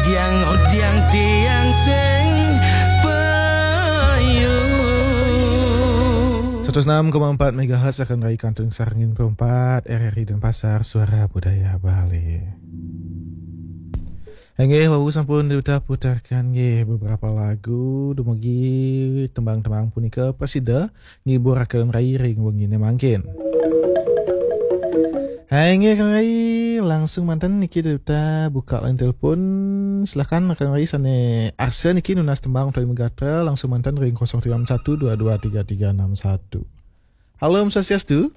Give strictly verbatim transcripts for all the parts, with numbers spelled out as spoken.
Tiang, oh, tiang, tiang sing payu. Seratus enam koma empat megahertz akan raikan Kantun Sarangin Perempat, R R I Denpasar, Suara Budaya Bali. Inggih, wau sampun diudah putarkan nggih beberapa lagu dumugi tembang-tembang punika prasida ngiburaken rai ring wengine mangkin. Hai, inggih, Kang Rai, langsung manten niki kita buka line telepon. Silakan, Kang Rai, sane arsa niki nunas tembang utawi megatra, langsung manten ring kosong tiga enam satu dua dua tiga tiga enam satu. Halo, Om Swastiastu.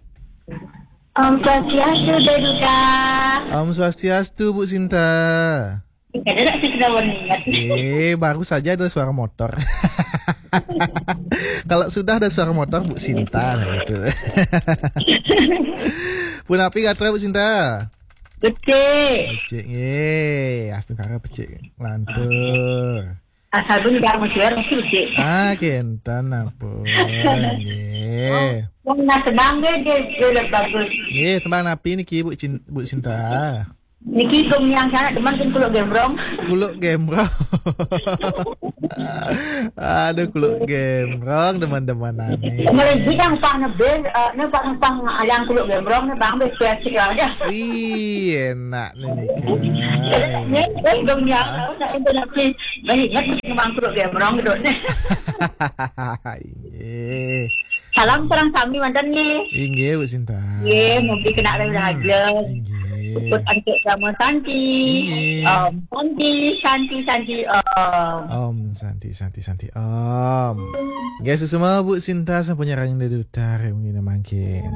Om Swastiastu, Deduta. Om Swastiastu, Bu Sinta. Ada tak sih sudah ingat? Eh, baru saja ada suara motor. Kalau sudah ada suara motor, Bu Sinta, nah, itu. Punapi gatra, Bu Sinta? Becik. Becik, nggih. Astungkara becik. Lantur. Asal pun gak mau suara, mesti becik. Ah, kenten, ampun. Nggih. Wong nak tembang deh, dia, dia lebih bagus. Nggih, tembang napi niki, Bu Cin-, Bu Sinta? Niki gong yang sangat demen kan kuluk gembrong. Kuluk gembrong. Aduh, kuluk gembrong, teman-teman, aneh. Melejit yang pang nebel, eh, ne pang, pang yang kuluk gembrong, ne pang bes kreatif aja. Wih, enak nih, nih, guys. Nih, eh, gong yang, Ah. Tahu, nak intonasi. Baik, ingat, memang kuluk gembrong gitu. Iya. Salam sareng sami manten nggih. Inggih, Bu Sinta. Nggih, mugi kena Hmm, rahayu. Inggih. Puput antuk Dharma Santi. Inggih. Om Santi, Santi, Santi, Om. Om Santi, Santi, Santi, Om. Nggih, suksma Bu Sinta sampun nyarengin Deduta ring wengi mangkin.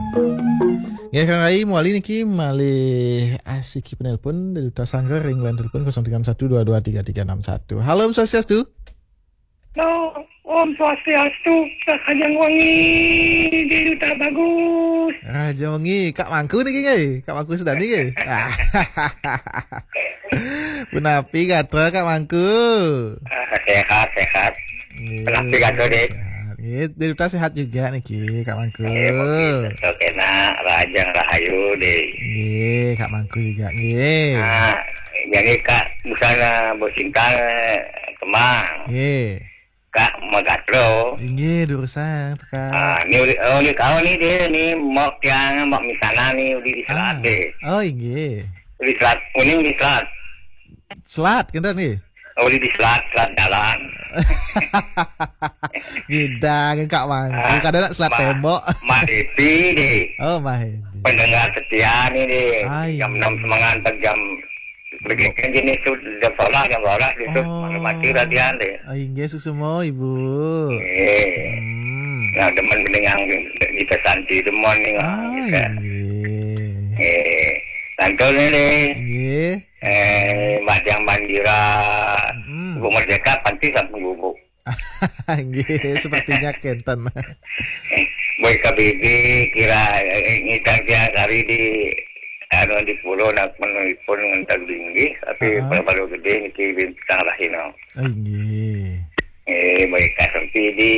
Nggih, Kang Rai, mawali niki malih asiki penelpon Deduta Sanggar ring line telepon kosong tiga enam satu dua dua tiga tiga enam satu. Halo, Om Swastiastu. Halo, Om Swastiastu, Kak Kajang Wangi, Deduta Bagus. Raja Wengi, Kak Mangku niki nggih? Kak Mangku Sedani nggih? Ah. Punapi gatra, Kak Mangku? Ah, sehat, sehat. Nggih, punapi gatra, Dek? Sehat. Nggih, Deduta sehat juga niki, Kak Mangku. Nggih, mugi tetep enak, rahajeng rahayu, Dek. Nggih, Kak Mangku juga nggih. Ah, jadi Kak, busana Bu Sinta, eh, kemang. Nggih. Kak Magatro. Inggih, durusang, Kak. Ah, ni uli, oh, ni kau ni dia ni, mok tiang, mok misana ni, uli di selat Ah. Deh. Oh, inggih. Uli selat, uli, uli selat. Selat, kenten nggih? Uli di selat, selat jalan. Gidang, Kak Mang. Ah, Bukan ada selat Ma-, tembok. Mak Devi deh. Oh, Mah Devi. Pendengar setia ni deh. Ai. Jam enam semangat, jam Begitu jenis tu, jam sebelas, jam dua belas gitu. Oh. Mana mati radian deh. Ah, inggih, suksma, Ibu. Eh. Hmm. Nah, demen dengan kita Santi demen ni, ah, Ah, gitu. Inggih. Eh, lantur ni deh. Inggih. Eh, Madang Mandira. Mm-mm. Ibu Merdeka, panti sampun gubuk. Nggih, sepertinya kenten. Boy K B B kira, eh, ngidang tiang kari di, anu, di pulo nak menelpon ngentak linggih, tapi Heeh. Pada baru gede niki bintang rahina. Oh, nggih. Eh, baik kasempidi.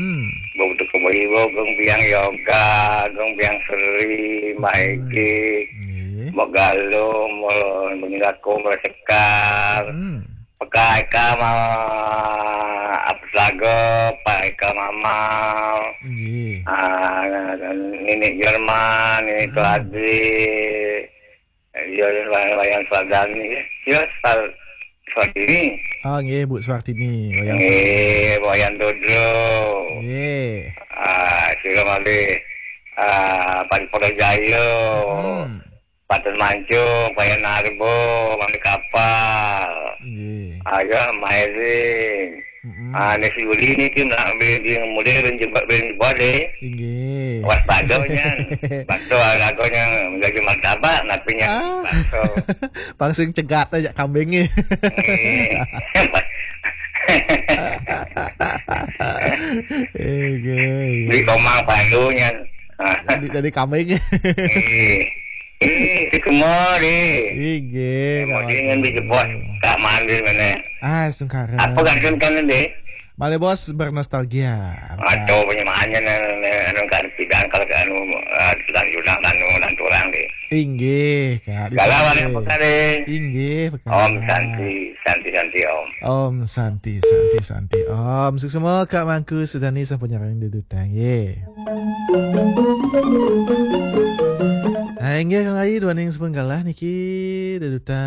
Hmm. Bau tu kembali, bau gong biang yoga, gong biang seri, maigi, Nggih. Mau galo, mau meninggal ko, mau sekar. Hmm. Peka Eka ma-, apa lagu, Pak Eka Mamal. Nggih. Ah, Nenek Jerman, Nenek Hmm. Tuadi. Ya, Wayan, Wayan Swadani, ya. Ya, Sal-, Swadini. Ah, nggih, Bu Swartini, Wayan Nggih, Swadini. Wayan Dodro. Nggih. Ah, sira malih, ah, Pan Poda Jaya. Hmm. Patut Mancung, Payan Arbo, Mami Kapal. Nggih. Ah, ya, Mairing. Mm-mm. Ah, Nes Yuli niki nak beli di model ben jebak ben jebak deh. Inggih. Waspada nya. Bakso lagunya menjadi martabak, napinya Ah. Bakso. Pang sing cegat aja kambingnya. Nggih. Inggih. Di Komang Palu nya. Ah. Jadi, jadi kambing. Nggih. Eh, itu semua deh. Inggih, Mau Kak dingin Agus. Dijebot. Tak mandi mana. Ah, sungkara. Apa gantung kan deh? Malih bos bernostalgia. Atau penyemaannya anu kan pidang kalau anu, eh, sedang judang anu nanti orang deh. Inggih, Kak. Galah warna pekare. Inggih, Kak. Om Santi, Santi, Santi, Om. Om Santi, Santi, Santi. Om, suksma Kak Mangku Sudani sampun nyarengin deduta nggih. Nah, inggih Kang Rai, duaning sampun galah niki deduta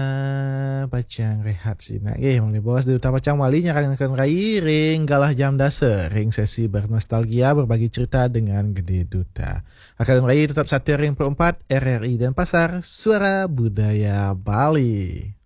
pacang rehat sinak nggih. Mangda bos deduta pacang wali nyarengin Kang Rai ring galah jam dasa ring sesi bernostalgia berbagi cerita dengan Gede Duta. Kang Rai tetap setia ring empat R R I Denpasar, Suara Budaya Bali.